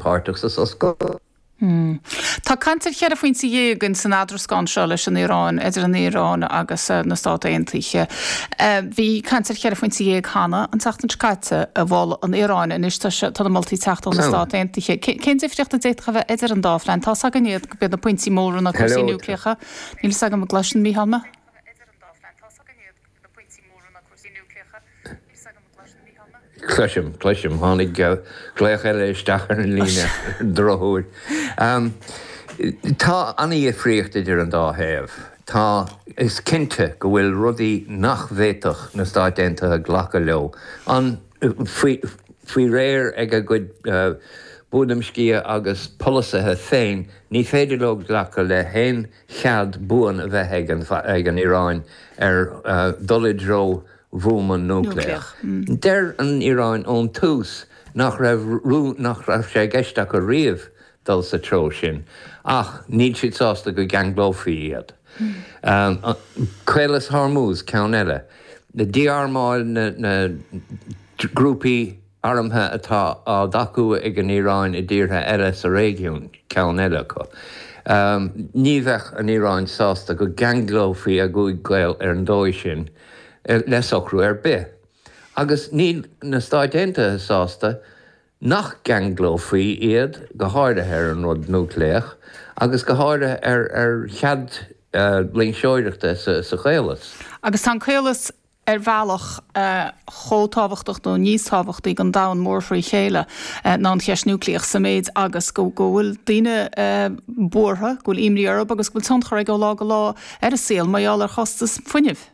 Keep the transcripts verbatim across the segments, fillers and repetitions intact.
páirteach sa sos cogaidh. Hmm. Tá caint ar cheithre phointe dhéag in san eadrascán seo leis an Iaráin idir an Iaráin agus eh, na Stáit Aontaithe. Eh, bhí caint ar cheithre phointe dhéag cheana an tseachtain seo caite a mhol an Iaráin anois tá na moltaí ag teacht ó na Stáit Aontaithe. Cén difríocht a d'fhéadfadh a bheith idir an dá phlean? Tá gan iad go na pointí móra na cúrsaí núicléacha, Níl a fhios agam an gcloiseann Mícheál mé? Cloisim, cloisim, tháinig glaoch eile isteach ar an líne drochuair. Um, tá an-difríocht idir an dá thaobh. Tá is cinnte go bhfuil rudaí nach bhféadfadh na Stáit Aontaithe glacadh leo. An faoi faoi réir ag a gcuid uh, buaileam sciath agus polasaithe féin, ní féidir leo glacadh le haon chead buan a bheith ag an, ag an Iaráin ar uh, dul i dtreo bhuama núicléach. Mm. Deir an Iaráin ón tús nach raibh nach raibh sé i gceist acu riamh dul sa treo sin, ach níl siad sásta go gceanglófaí iad. Mm. Um, Caolas Hormuz ceann eile. Na dí-armáil na, na grúpaí armtha atá á dtacú ag an Iaráin i dtíortha eile sa réigiún ceann eile acu. Um, ní bheadh an Iaráin sásta go gceanglófaí a gcúig gaol ar an dóigh sin le socrú ar bith. Agus níl na Stáit Aontaithe sásta nach gceanglófaí iad go háirithe ar an rud núicléach agus go háirithe ar ar chead uh, loingseoireachta sa, sa chaolas. Agus tá an caolas ar bhealach uh, chomh tábhachtach nó níos tábhachtaí don domhan mór frí chéile uh, ná an cheist núicléach sa méid agus go go bhfuil daoine uh, buartha, go bhfuil imní orthu agus go bhfuil tionchar ag ó lá go lá ar a saol mar gheall ar chostas fuinnimh.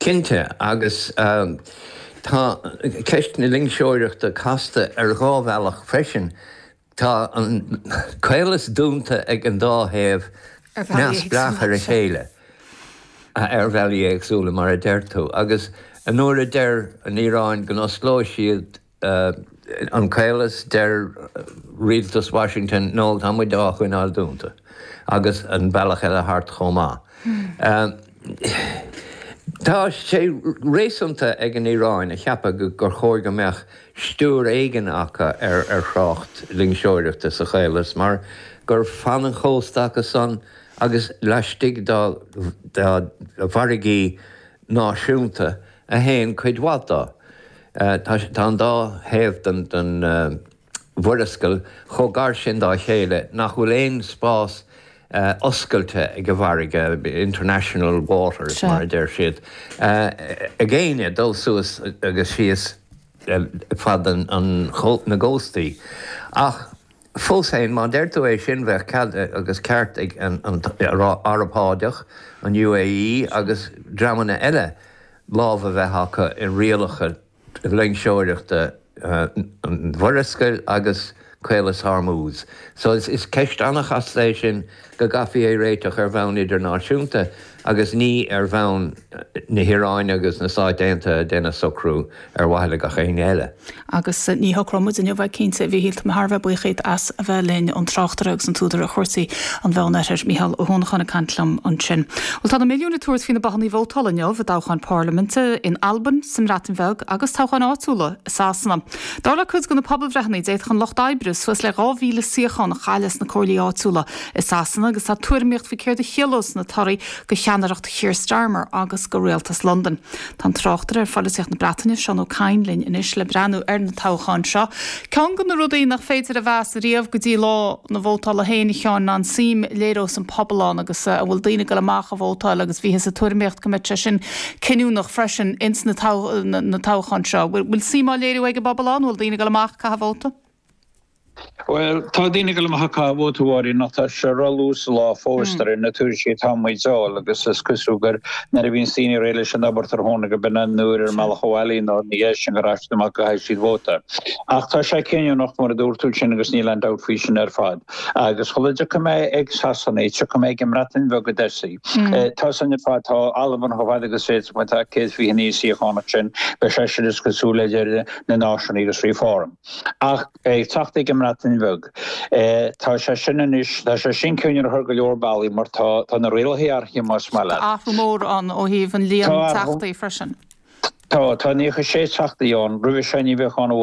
Cinnte agus um, tá ceist na loingseoireachta casta ar dhá bhealach freisin. Tá an caolas dúnta ag an dá thaobh neamhspleách ar a chéile ar bhealaí éagsúla mar a deir tú, agus an uair a deir an Iaráin go n-osclóidh siad uh, an caolas deir rialtas Washington nó tá muid á choinneáil dúnta, agus an bealach eile thart chomh maith. Um, Tá sé réasúnta ag an Iaráin a cheapadh gur chóir go mbeadh stiúir éigin acu ar ar thrácht loingseoireachta sa chaolas, mar gur fan an chósta acu san agus laistigh dá dá bhfarraigí náisiúnta a théann cuid mhaith dó. Uh, tá tá an dá thaobh den den uh, mhurascaill chomh gar sin dá chéile nach bhfuil aon spás uh, oscailte ag an bhfarraige international waters Sea. mar a deir siad. Uh, ag éinne dul suas agus síos uh, fad an, an chó- na gcóstaí. Ach fós féin má deir tú é sin bheadh cead agus ceart ag an, an Araib Shádach, an UAE agus dreamanna eile lámh a bheith acu i rialacha loingseoireachta uh, an mhurascaill agus Caolas Hormuz. So is, is ceist an-chasta é sin go gcaithfí é réiteach ar bhonn idirnáisiúnta agus ní ar bhonn na hIaráine agus na Stáit Aontaithe déanamh socrú ar mhaithe le gach éinne eile. Agus eh, ní shocróidh muid inniu bheith cinnte bhí hialt mar bheith buíoch as a bheith linn an tráchtaire agus an t-údar ar chúrsaí an Mheánoirthir Mícheál Ó hUanacháin ag caint liom ansin. Well tá na milliúin ag tabhairt faoi na bothanna vótála inniu i dtoghchán parlaiminte in Albain, sa mBreatain Bheag agus toghcháin áitiúla i Sasana. Dar le cuid de na pobalbhreitheanna d'fhéadfadh an lucht oibre suas le dhá mhíle suíochán a chailleadh sna comhairlí áitiúla i Sasana agus tá tuairimíocht faoi céard a chiallós na torthaí do cheannaireacht Keir Starmer agus do rialtas Londain. Tá an tráchtaire ar pholaitíocht na Breataine Seán Ó Cadhain linn anois le breathnú ar na toghcháin seo. Ceann de na rudaí nach féidir a mheas riamh go dtí lá na vótála féin a Sheáin an suim a léireos an pobal ann agus uh, an bhfuil daoine ag dul amach a vótáil agus bhíothas ag tuairimíocht go mbeadh sé sin cinniúnach freisin ins na, na, na toghcháin seo. Bhfuil suim á léiriú ag an bpobal ann, bhfuil daoine ag dul amach ag caitheamh vóta? Well tá daoine ag dul amach ag caitheamh vóta a Mháirín ach tá sé róluath sa lá fós de réir na tuairiscí atá muid a fháil agus is cosúil gur nuair a bhíonn daoine réidh leis an obair tráthnóna go b'in an uair ar an mbealach abhaile nó ní sin gur aisteach go gcaithfidh siad vóta. Ach tá sé cinniúnach mar a dúirt tú sin agus níl aon dabht faoi sin ar fad. Agus chuile tiocfaidh mé ag Sasana, tiocfaidh mé ag an mBreatain Bheag go dtosaí. Tá san ar fad tá Albain chomh fada agus féidir tá céad fiche naoi suíochán sin be sé sin is cosúil le na náisiúnaigh agus Reform. Ach ag teacht ag an mBreatain Bheag. Tá sé sin anois tá sé sin cinniúnach ar go leor bealaí mar tá tá na rialacha athraithe más maith leat. Athrú mór ann ó thaobh an líon Tá teachtaí freisin. Tá tá nócha sé teachta ann roimhe sin ní bheadh ann amháin